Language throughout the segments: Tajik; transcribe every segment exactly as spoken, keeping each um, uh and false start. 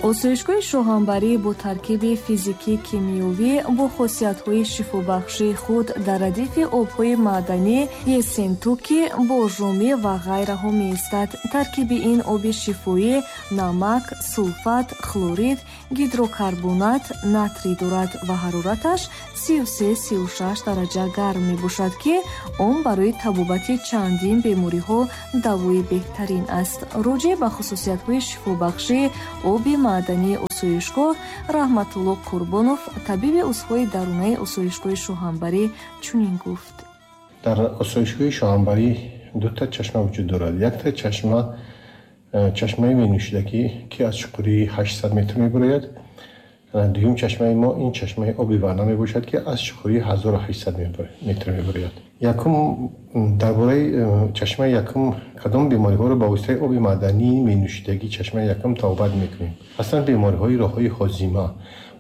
Осоишгоҳи Шоҳанбарӣ бо таркиби физикӣ-кимиёвӣ бо хосиятҳои шифобахшии худ дар радифи обҳои маъданӣ Ессентуки, Боржомӣ ва ғайраҳо меистад. Таркиби ин оби шифоӣ намак, сулфат, хлорид, гидрокарбонат, натрий дорад ва ҳарораташ сию се сию шаш дараҷа гарм мебошад, ки он барои табобати чандин бемориҳо давои беҳтарин аст. Роҷеъ ба хусусиятҳои шифобахшии оби маъдании осоишгоҳ Раҳматулло Қурбонов, табиби узвҳои дарунаи осоишгоҳи Шоҳанбарӣ, чунин гуфт. Дар осоишгоҳи Шоҳанбарӣ дута чашма вуҷуд дорад. Якта чашма чашмаи менӯшидагӣ, ки аз чуқурии ҳаштсад метр мебарояд. Дуюм чашмаи мо ин чашмаи оби варна мебошад, ки аз чуқурии ҳазору ҳаштсад метр мебарояд. Якум, дар бораи чашмаи якум, кадом бемориҳоро ба воситаи оби маъдании менӯшидагӣ чашмаи якум табобат мекунем? Аслан бемориҳои роҳҳои ҳозима,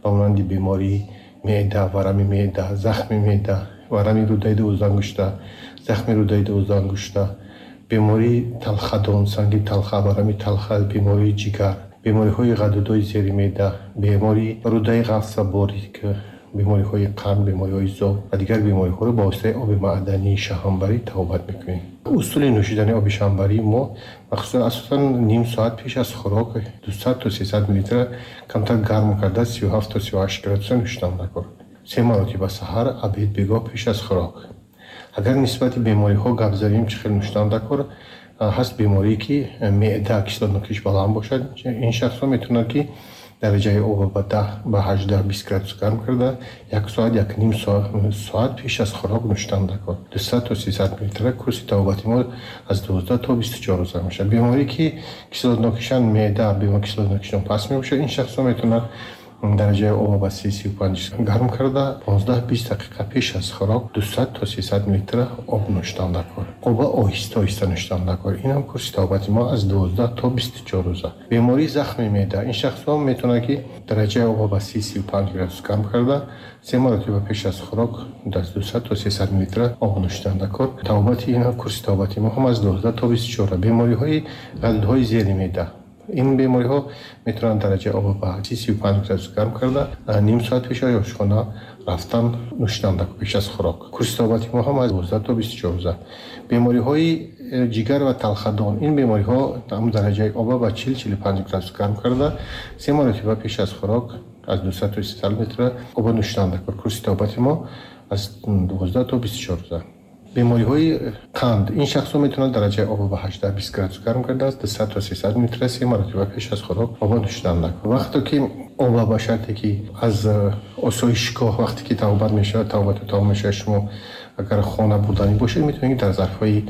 ба монанди бемории меъда, варами меъда, захми меъда, варами рӯдаи дувоздаҳангушта, захми рӯдаи дувоздаҳангушта, бемории талхадон, санги талха, варами талха, бемории ҷигар, бемориҳои ғадудҳои зери меъда, бемории рӯдаи ғафс ва борик, бемориҳои қанд, бемориҳои зоб ва дигар бемориҳоро ба воситаи оби маъдании Шоҳанбарӣ табобат мекунем. Усули нӯшидани оби Шоҳанбарии мо махсусан асосан ним соат пеш аз хӯрок дусад то сесад миллилитр камтар гарм карда сию ҳафт то сию ҳашт градуса нӯшидан даркор. Се маротиба: саҳар, обед, бегоҳ пеш аз хӯрок. Агар нисбати бемориҳо гап занем, чӣ хел нӯшидан даркор? Ҳаст беморие, ки меъда кислотнокиш баланд бошад, ин шахсҳо метавонанд, ки дараҷаи обро ба даҳ, ба ҳаждаҳ, бист градус гарм карда як соат, як ним соат пеш аз хӯрок нӯшидан даркор. Дусад то сесад миллилитр. Курси табобати мо аз дувоздаҳ то бисту чор рӯза мешавад. Беморие, ки кислотнокишан меъда, бемор кислотнокишон паст мебошад, ин шахсҳо метавонанд дараҷаи обро ба си, сию панҷ гарм карда понздаҳ, бист дақиқа пеш аз хӯрок дусад то сесад миллилитр об нӯшидан даркор. Оба оҳиста оҳиста нӯшидан даркор. Ин ҳам курси табобати мо аз дувоздаҳ то бисту чор рӯза. Бемории захми меъда, ин шахсҳо метавонанд, ки дараҷаи обро ба си, сию панҷ градус гарм карда се маротиба пеш аз хӯрок аз дусад то сесад миллилитр об нӯшидан даркор. Табобати ин курси табобати мо ҳам аз дувоздаҳ то бисту чор. Бемориҳои ғадудҳои зери меъда, ин бемориҳо метавонанд дараҷаи обро ба си, сию панҷ градус гарм карда ним соат пеш аз ошхона рафтан нӯшидан даркор пеш аз хӯрок. Курси табобати мо ҳам аз дувоздаҳ то бисту чор рӯза. Бемориҳои ҷигар ва талхадон, ин бемориҳо ҳам дараҷаи обро ба чил, чилу панҷ градус гарм карда се маротиба пеш аз хӯрок аз дусад то сесад миллилитр об нӯшидан даркор. Курси табобати мо аз дувоздаҳ то бисту чор рӯза. Бемориҳои қанд, ин шахсҳо метавонанд дараҷаи обро ба ҳаждаҳ, бист градус гарм карда аз дусад то сесад миллилитр се маротиба пеш аз хӯрок об нӯшидан даркор. Вақте ки об ба шарте ки аз осоишгоҳ вақте ки табобат мешавад, табобату тамом мешавад, шумо агар хона бурданӣ бошед, метавонед дар зарфҳои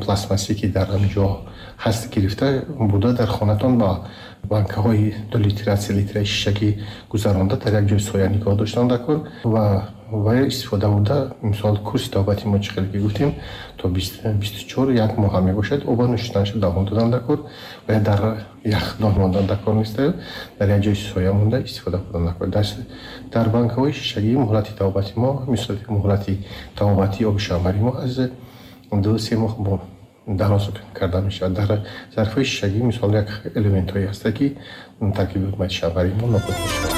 пластмассӣ, ки дар ҳамин ҷо ҳаст, гирифта бурда дар хонатон ба банкаҳои ду литра, се литраи шишагӣ гузаронда дар як ҷои соя нигоҳ доштан даркор ва ва истифода бурда. Мисол, курси табобати мо, чӣ хеле ки гуфтем, то бисту чор, як моҳ мебошад. Оба нӯшиданашо давом додан даркор ва дар яхдон мондан даркор нест, дар як ҷои соя монда истифода бурдан даркор. Дар банкаҳои шишагӣ муҳлати табобати мо, мисол, муҳлати табобати оби Шоҳанбарии мо аз ду се моҳ дароз карда мешавад. Дар зарфҳои шишагӣ, мисол, як элементҳое ҳастанд, ки таркиби шоҳанбарии мо нобуд мешавад.